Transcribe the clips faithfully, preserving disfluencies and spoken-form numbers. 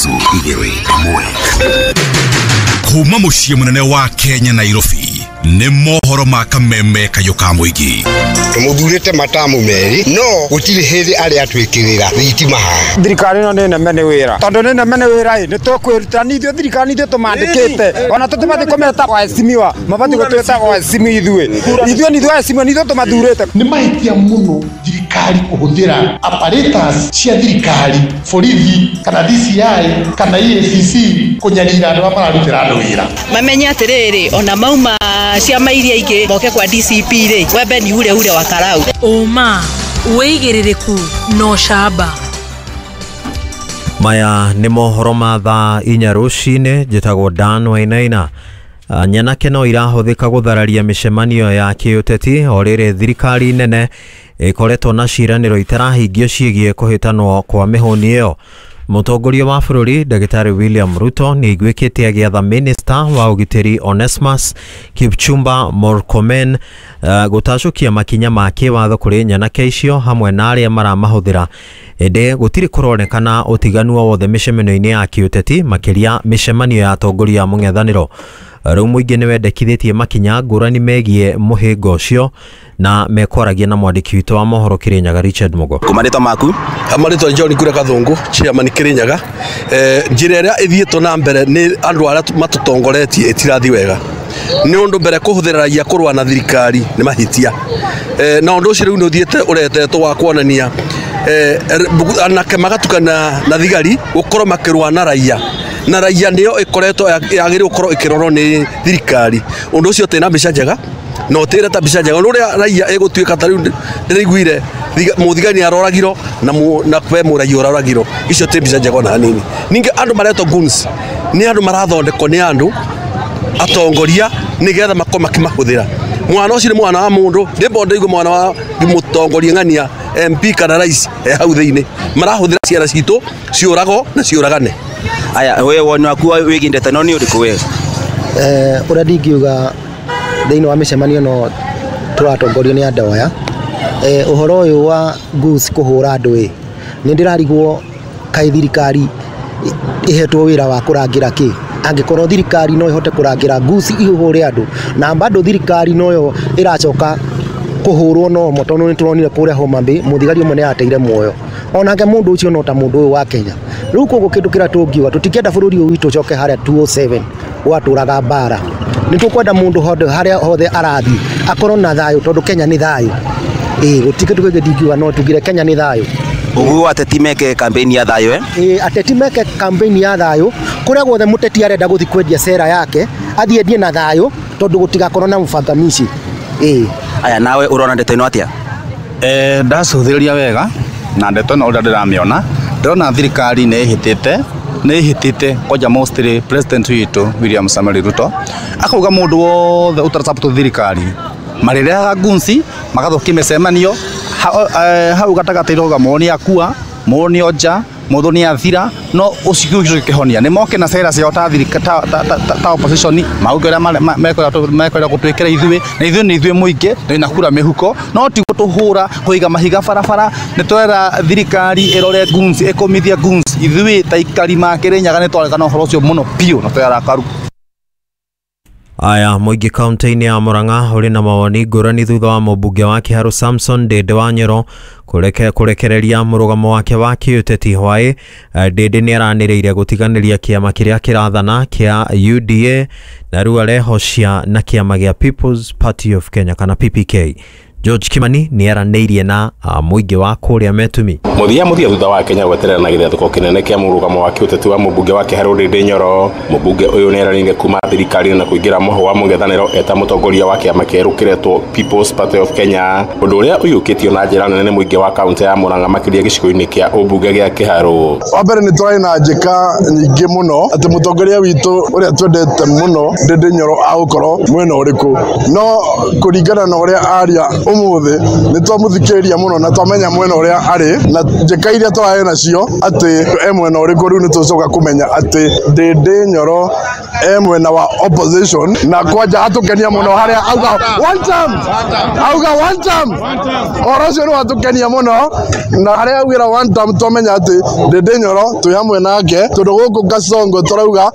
Ithatũ, igĩrĩ, ĩmwe. Kuma mũciĩ mũnene wa Kenya, Nairobi, nĩ mohoro ma kameme kayũ ka mũingĩ. Tũmũthurĩte matamu merĩ, no gũtirĩ hĩndĩ arĩa atwĩkĩrĩra thitima haha. Thirikari ĩno nĩ neme nĩ wĩra, tondũ nĩ neme nĩ wĩra ĩ nĩ tũkwĩruta nĩ ithuĩ. Thirikari ithuĩ tũmandĩkĩte, ona tũtibatiĩ kũmeta waheshimiwa, mabatiĩ gũtwĩta waheshimiwa. ithuĩ ithuĩ nĩ ithuĩ waheshimiwa, nĩ ithuĩ tũmathurĩte. Nĩ mahĩtia mũno thirikari kũhũthĩra apparatus cia thirikari, borithi kana D C I kana E A C C, kũnyarira andũ arĩa mararutĩra andũ wĩra. Mamenye atĩrĩrĩ, ona mauma ciama iria ingĩ moke kwa D C P rĩ, wembe ni ule ule wa karau. Ũma, wĩigĩrĩrĩku na ũcamba. Maya nĩ mohoro ma thaa inya rũcinĩ. Njĩtagwo Dan Wainaina. Ah, nyanake no irahũthĩka gũthararia mĩcemanio ya kĩũteti o rĩrĩ thirikari nene ĩkoretwo na ciĩranĩro itarahingio ciĩgiĩ kũhĩtanwo kwa mĩhũni ĩyo. Mũtongoria wa bũrũri Ndagĩtarĩ William Ruto nĩ aiguĩkĩte agĩatha minista wa ũgitĩri Onesmus Kipchumba Murkomen uh, gũtacũkia makinya ma kĩwatho kũrĩ nyanake icio hamwe na arĩa maramahũthĩra, ĩndĩ gũtirĩ kũronekana ũtiganu o wothe mĩcemanio-inĩ ya kĩũteti, makĩria mĩcemanio ya atongoria a mũng'ethanĩro. Rĩu mũingĩ nĩ wendekithĩtie makinya ngũrani megiĩ mũhĩnga ũcio, na mekwaragia na mwandĩki witũ wa mohoro Kĩrĩnyaga Richard Mugo. Marĩtwa maku? Marĩtwa John Kura Gathungu, chairman Kĩrĩnyaga. eh, njĩra ĩrĩa ĩthiĩtwo na mbere nĩ andũ arĩa matũtongoretie ĩtirathi wega, nĩ ũndũ mbere kũhũthĩra raia kũrũa na thirikari nĩ mahĩtia. eh, na ũndũ ũcio rĩu nĩ ũthiĩte ũretetwo wa kuonania eh, anake magatukana na thigari gũkorwo makĩrũa na raia, na raia nĩyo ĩkoretwo yagĩrĩirwo gũkorwo ĩkĩrorwo nĩ thirikari. Ũndũ ũcio ũtĩ na mbica njega na ũtĩre ta mbica njega ũrĩa raia ĩgũtuĩka. Ta rĩu ndĩraiguire mũthigani aroragirwo na na kwe mũraia ũroragirwo. Icio ti mbica njega ona hanini. Ningĩ andũ maretwo goons nĩ andũ marathondekwo nĩ andũ atongoria nĩgetha makorwo makĩmahũthĩra. Mwana ũcio nĩ mwana wa mũndũ ndĩmbo ndaigua mwana wa mũtongoria ng'ania M P kana rais e hau thĩinĩ marahũthĩra ciana citũ ciũrago na ciũragane. Aya, we woni waku wĩgiĩ ndeto ĩno nĩ ũrĩkũ we? eh ũrĩa ndingiuga thĩinĩ wa mĩcemanio ĩno tũratongorio nĩ andũ aya, eh ũhoro ũyũ wa goons kũhũra andũ ĩ, nĩ ndĩrarigwo kaĩ thirikari ĩhetwo wĩra wa kũrangĩra kĩ, angĩkorwo thirikari no ĩhote kũrangĩra goons ihũre andũ, na bado thirikari noyo ĩracoka kũhũrwo nomo, tondũ nĩ tũronire kũrĩa Homa Bay mũthigari ũmwe nĩ ateire muoyo, onake mũndũ ũcio no ta mũndũ ũyũ wa Kenya. Rĩu koguo kĩndũ kĩrĩa tũngiuga, tũtingĩenda bũrũri ũyũ witũ ũcoke harĩa two oh seven gwatũraga mbara. Nĩ tũkwenda mũndũ hothe harĩa hothe arathiĩ akorwo na thayũ, tondũ Kenya nĩ thayũ. Ĩĩ, gũtirĩ kĩndũ kĩngĩ ndingiuga, no tugire Kenya nĩ thayũ. Ũguo ateti meke campaign ya thayũ, eh? Ĩĩ, ateti meke campaign ya thayũ. Kũrĩa guothe mũteti arenda gũthiĩ kwendia cera yake, athiĩ endie na thayũ, tondũ gũtigakorwo na mũbangamici. Ĩĩ. Aya, nawe ũrona ndeto ĩno atĩa? Eh, ndacũthĩrĩria wega na ndeto ĩno, ũrĩa ndĩramĩona, ndĩrona thirikari nĩ ĩhĩtĩte nĩ ĩhĩtĩte kwanja mostly president witũ William Samoei Ruto akauga mũndũ wothe ũtarasupport thirikari marĩrehaga goons magathũkia mĩcemanio. ha, eh, hau gatagatĩ iroga mũndũ nĩ akua, mũndũ nĩ onja, mũndũ nĩ athira, no ũcio ũcio kĩhonia nĩ moke na cera ciao ta thirika ta, ta, ta, ta, ta opposition, mauge ũrĩa mekwenda gũtwĩkĩra ithuĩ, na ithuĩ nĩ ithuĩ mũingĩ na kura mĩhuko, no ti gũtũhũra kũiga mahiga barabara. Nĩ twera thirikari ĩrore goons, ĩkũmithia goons. Ithuĩ ta ikari ma Kĩrĩnyaga nĩ twaregana ũhoro ũcio mũno biũ na twĩ arakaru. Aya, mũingĩ kaunti-inĩ ya Murang'a ũrĩ na mawoni ngũrani thutha wa mũmbunge wa Kiharu Samson Ndindi wa Nyoro kũreke kũrekereria mũrũgamo wake wa kĩũteti hwaĩ. Ndindi nĩ aranĩrĩire gũtiganĩria kĩama kĩrĩa kĩrathana kĩa U D A na rĩu arehocia na kĩama gĩa People's Party of Kenya kana P P K. George Kimani nĩ aranĩirie na mũingĩ wa kũrĩa Metumi. Mũthia mũthia, thutha wa Kenya gweterera na gĩthiathũko kĩnene kĩa mũrũgamo wa kĩũteti wa mũmbunge wa Kĩharũ Ndindi Nyoro, mũmbunge ũyũ nĩeranĩire kuma thirikari-inĩ na kũingĩra mũhũ wa mũng'ethanĩro eta mũtongoria wa kĩama kĩerũ kĩretwo People's Party of Kenya, ũndũ ũrĩa ũiyũkĩtio na njĩra nene nĩ mũingĩ wa kaunti ya Murang'a, makĩria gĩcigo-inĩ kĩa ũmbunge gĩa Kĩharũ. Wa mbere, nĩ tũrarĩ na njĩka nyingĩ mũno atĩ mũtongoria witũ ũrĩa twendete mũno Ndindi Nyoro agũkorwo mwena ũrĩkũ, no kũringana na ũrĩa aria Umuthi nĩ twamũthikĩrĩria mũno na twamenya mwena ũrĩa arĩ na njĩka iria tũrarĩ nacio atĩ e mwena ũrĩkũ. Rĩu nĩ tũcoka kũmenya atĩ Ndindi Nyoro e mwena wa opposition, na kwanja atũkenia mũno harĩa auga one time, auga one time, ũhoro ũcio nĩ watũkenia mũno, na harĩa augĩra one time twamenya atĩ Ndindi Nyoro twĩ hamwe nake, tondũ gũkũ Kasongo tũrauga.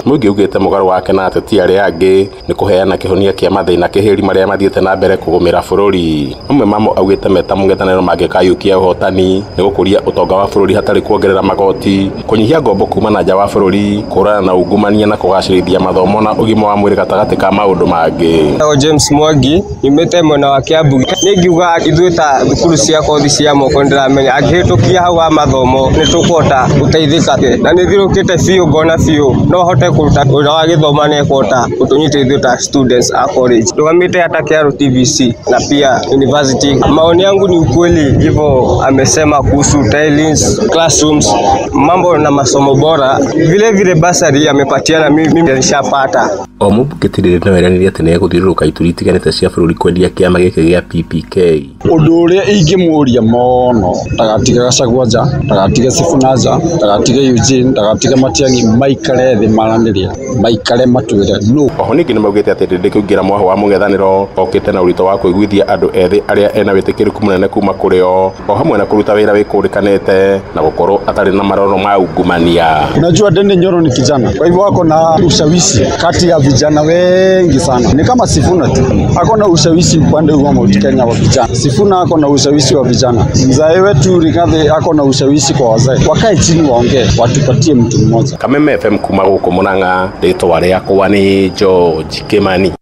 Mũingĩ ugĩte mũgarũ wake na ateti arĩa angĩ nĩ kũheana kĩhonia kĩa mathĩna kĩhĩri marĩa mathiĩte na mbere kũgũmĩra bũrũri. Mamwe mamo augĩte meta mũng'ethanĩro mangĩkayũkia ũhotani nĩ gũkũria ũtonga wa bũrũri hatarĩ kuongerera magoti, kũnyihia ngombo kuma na nja wa bũrũri, kũhũrana na ungumania na kũgacĩrithia mathomo na ũgima wa mwĩrĩ gatagatĩ ka maũndũ mangĩ. Ndĩtagwo James Mwangi, nyumĩte mwena wa Kiambu. Niĩ ngiuga ithuĩ ta thukuru cia kothi cia moko nĩndĩramenya angĩhĩtũkia hau ha mathomo nĩtũkũhota gũteithĩka, na nĩthiũrũkĩte biũ ngona biũ no hote kũruta wĩra wa gĩthomo na ĩkũhota gũtũnyita ithuĩ ta students a college. Ndũgamĩte hata Kiaru T V C na pia university. Maoni yangu ni ukweli hivyo amesema kuhusu tailings, classrooms, mambo na masomo bora. Vile vile basari amepatiana, mimi nishapata. O mũmbunge Ndindi no eranĩire atĩ nĩegũthiũrũrũka ituri itiganĩte cia bũrũri kwendia kĩama gĩkĩ gĩa P P K. Ũndũ ũrĩa ingĩmũria mũno, ndagatige Gachagua nja, ndagatige Sifuna nja, ndagatige Eugene, ndagatige Matiang'i, maikare thĩ maranĩrie, maikare matwĩre no. Oho ningĩ nĩmaugĩte atĩ Ndindi kũingĩra mwaho wa mũng'ethanĩro okĩte na ũritũ wa kũiguithia andũ ethĩ arĩa ena wĩtĩkĩrĩku mũnene kuma kũrĩ o, o hamwe na kũruta wĩra wĩkũrĩkanĩte na gũkorwo atarĩ na maroro ma ungumania. Unajua Ndindi Nyoro ni kijana, kwa hivyo ako na ushawishi kati ya vijana wengi sana. Ni kama Sifuna tu, ako na ushawishi upande wa Mount Kenya wa vijana. Sifuna ako na ushawishi wa vijana. Mzee wetu Rigathi ako na ushawishi kwa wazee. Wakae chini waongee, watupatie mtu mmoja. Kameme F M kuma gũkũ Murang'a, rĩtwa rĩakwa nĩ George Kimani.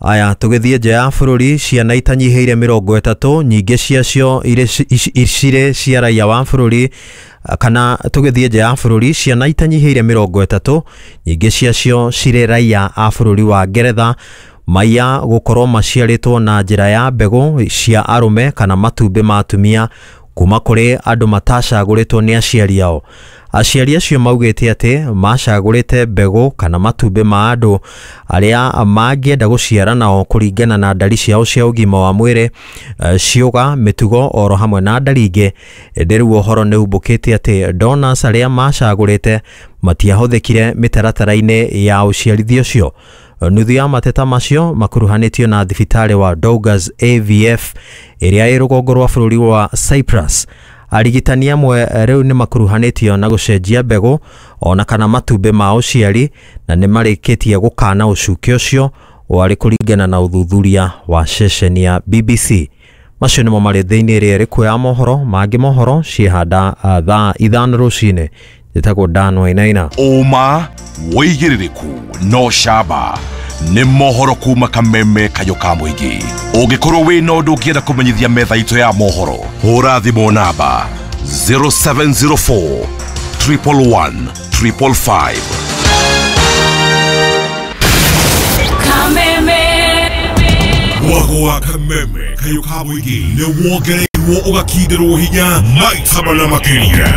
Aya, tũgĩthiĩ nja ya bũrũri, ciana itanyihĩire mĩrongo ĩtatũ, nyingĩ ciacio irĩ cia raia wa bũrũri, kana tũgĩthiĩ nja ya bũrũri, ciana itanyihĩire mĩrongo ĩtatũ, nyingĩ ciacio cirĩ raia a bũrũri wa Ngeretha, maiya gũkorwo maciarĩtwo na njĩra ya mbegũ cia arũme kana matumbĩ ma atumia kuma kũrĩ andũ matacagũrĩtwo nĩ aciari ao. Aciari acio maugĩte atĩ macagũrĩte mbegũ kana matumbĩ ma andũ arĩa mangĩenda gũciara nao kũringana na ndari ciao cia ũgima wa mwĩrĩ, ciũga, mĩtugo oro hamwe na ndari ingĩ. Ĩndĩ rĩu ũhoro nĩ umbũkĩte atĩ donors arĩa macagũrĩte matiahũthĩkire mĩtaratara-inĩ ya ũciarithia ũcio. Nuthu ya mateta macio makuruhanĩtio na thibitarĩ wa Douglas A V F ĩrĩa ĩ rũgongo rwa bũrũri wa Cyprus. Arigitani amwe rĩu nĩ makuruhanĩtio na gũcenjia mbegũ ona kana matumbĩ ma ũciari, na nĩ marĩkĩtie gũkana ũcuke ũcio warĩ kũringana na ũthuthuria wa ceceni ya B B C. Macio nĩmo marĩ thĩinĩ ĩrĩa ĩrĩ ya mohoro mangĩ mohoro ciĩhanda thaa ithano rũcinĩ. Njĩtagwo Dan Wainaina. Ũma wĩigĩrĩrĩku no camba nĩ mohoro kuma Kameme Kayũ ka mũingĩ. Ũngĩkorwo wĩna ũndũ ũngĩenda kũmenyithia metha itũ ya mohoro, hũra thimũ namba zero seven zero four triple one triple five. Kameme Mwago wa Kameme Kayũ ka mũingĩ nĩ wongereirwo ũgakindirwo hinya maita mana makĩria.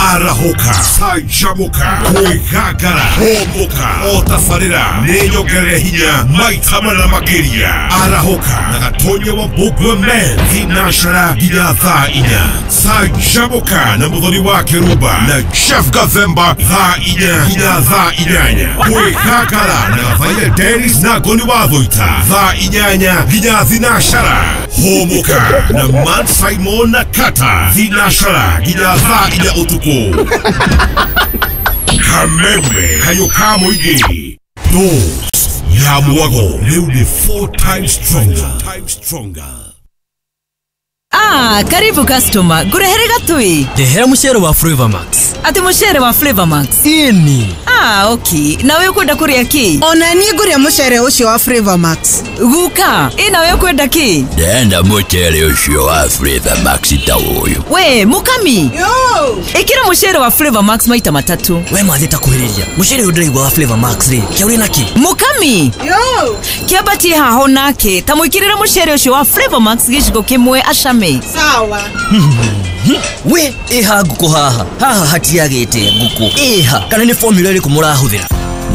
Arahũka, canjamũka, kwĩgangara, hũmũka, o tabarĩra nĩ nyongerere hinya maita mana makĩria. Arahũka na Gatonya wa Mbũgua Men thinacara nginya thaa inya. Canjamũka na Mũthoni wa Kĩrumba na Jeff Gathemba thaa inya nginya thaa inyanya. Kwĩgangara na Gathaia Dennis na Ngoni wa Thũita thaa inyanya nginya thinacara. Hũmũka na Man Simon na Kata thinacara nginya thaa inya ũtukũ. Kameme Kayũ ka mũingĩ, dose ya mwago rĩu nĩ four times stronger. Ah, karibu customer. Ngurehere gatui. Ndehera mucere wa Flavor Max. Ati mucere wa Flavor Max? Ini. Ah, okay. Nawe ukwenda kuria ki? Ona niĩ nguria mucere ucio wa Flavor Max. Guka, ĩ nawe ukwenda ki? Ndenda mucere ucio wa Flavor Max ta uyu. We, mukami. Yo. Ikira mucere wa Flavor Max maita matatu. We mathi ta kuhiriria. Mucere uyu ndiraigua wa Flavor Max ri. Kia uri naki? Mukami. Yo. Kiambatie haho nake. Ta mwikirira mucere ucio wa Flavor Max giciko kimwe acame. Sawa. We, iha nguku haha. Haha hatiagite nguku. Iha, kana ni formula iriku murahuthira?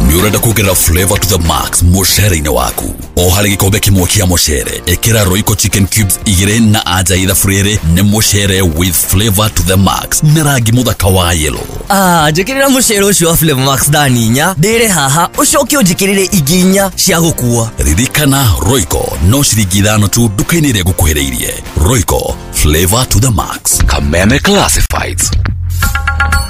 Nĩ ũrenda kuongerera flavor to the max mũcere-inĩ waku? O harĩ gĩkombe kĩmwe kĩa mũcere, ĩkĩra Royco chicken cubes igĩrĩ na anja ithabu rĩrĩ nĩ mũcere with flavor to the max na rangi mũthaka wa yellow. Ah, njĩkĩrĩra mũcere ũcio wa Flavor Max thani inya ndĩre haha, ũcoke ũnjĩkĩrĩre ingĩ inya cia gũkua. Ririkana, Royco no ciringi ithano tu nduka-inĩ ĩrĩa ngũkuhĩrĩirie. Royco, flavor to the max. Kameme Classifieds.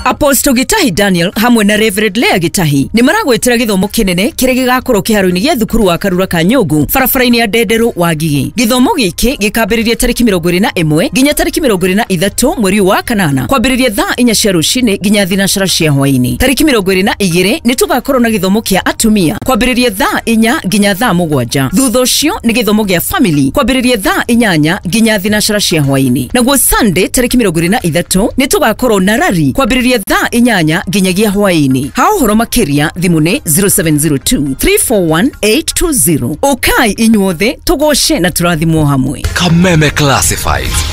Apostle Gitahi Daniel hamwe na Reverend Lea Gitahi nĩ maragwĩtĩra gĩthomo kĩnene kĩrĩa gĩgakorwo kĩharo-inĩ gĩa thukuru wa Karura Kanyũngũ, barabara-inĩ ya Ndenderũ wa Ngigĩ. Gĩthomo gĩkĩ gĩkambĩrĩria tarĩki mĩrongo ĩrĩ na ĩmwe nginya tarĩki mĩrongo ĩrĩ na ithatũ mweri ũyũ wa kanana, kwambĩrĩria thaa inya cia rũcinĩ nginya thinacara cia hwaĩ-inĩ. Tarĩki mĩrongo ĩrĩ na igĩrĩ nĩ tũgakorwo na gĩthomo kĩa atumia kwambĩrĩria thaa inya nginya thaa mũgwanja. Thutha ũcio nĩ gĩthomo gĩa family kwambĩrĩria thaa inyanya nginya thinacara cia hwaĩ-inĩ. Naguo Sunday tarĩki mĩrongo ĩrĩ na ithatũ nĩ tũgakorwo na rari kwambĩrĩria thaa inyanya nginyagia hwaĩ-inĩ. Ha ũhoro makĩria thimũ nĩ zero seven zero two three four one eight two zero. Ũkai inyuothe tũgoce na tũrathimwo hamwe. Kameme Classifieds.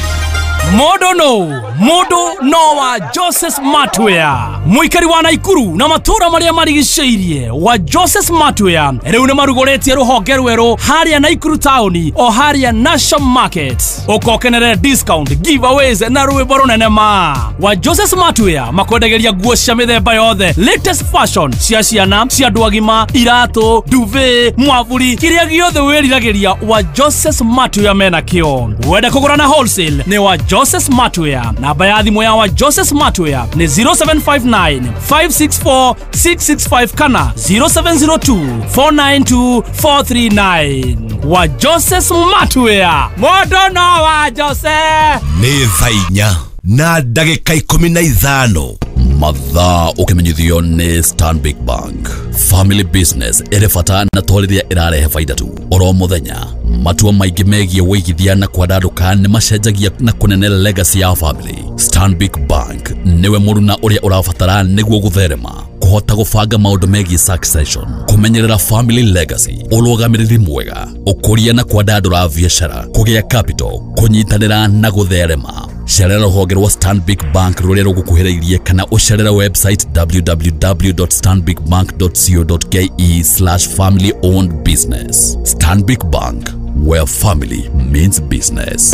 Mũndũ no mũndũ no wa Joseph Smartwear, mũikari wa Naikuru na matũra marĩa marigicĩirie wa Joseph Smartwear rĩu nĩ marugũrĩtie rũhonge rwerũ harĩa Naikuru taũni o harĩa National Market. Ũkokenere discount, giveaways na rwĩmbo rũnene ma wa Joseph Smartwear. Makwendagĩria nguo cia mĩthemba yothe, latest fashion cia ciana, cia andũ agima, iratũ, duvet, mwavuri, kĩrĩa gĩothe wĩriragĩria wa Joseph Smartwear mena kĩo. Wenda kũgũra na wholesale nĩ wa Joseph Smartwear. Namba ya thimũ ya wa Joseph Smartwear nĩ zero seven five nine five six four six six five kana zero seven zero two four nine two four three nine. Wa Joseph Smartwear, mũndũ no wa Joseph. Nĩ thaa inya na ndagĩka ikũmi na ithano. Mathaa ũkĩmenyithio nĩ Stanbic Bank. Family business ĩrĩ bata na to rĩrĩa ĩrarehe baida tu. Oro mũthenya matua maingĩ megiĩ wĩigithia na kwandandũka nĩ macenjagia na kũnene legacy ya family. Stanbic Bank nĩwe mũruna ũrĩa ũrabatara nĩguo gũtherema, kũhota gũbanga maũndũ megiĩ succession, kũmenyerera family legacy, ũrũgamĩrĩri mwega, ũkũria na kwandandũra biacara, kũgĩa capital, kũnyitanĩra na gũtherema. Cerera rũhonge rwa Stanbic Bank rũrĩa rũgũkuhĩrĩirie kana ũcerere website w w w dot stanbic bank dot co dot k e slash family owned business. Stanbic Bank, where family means business.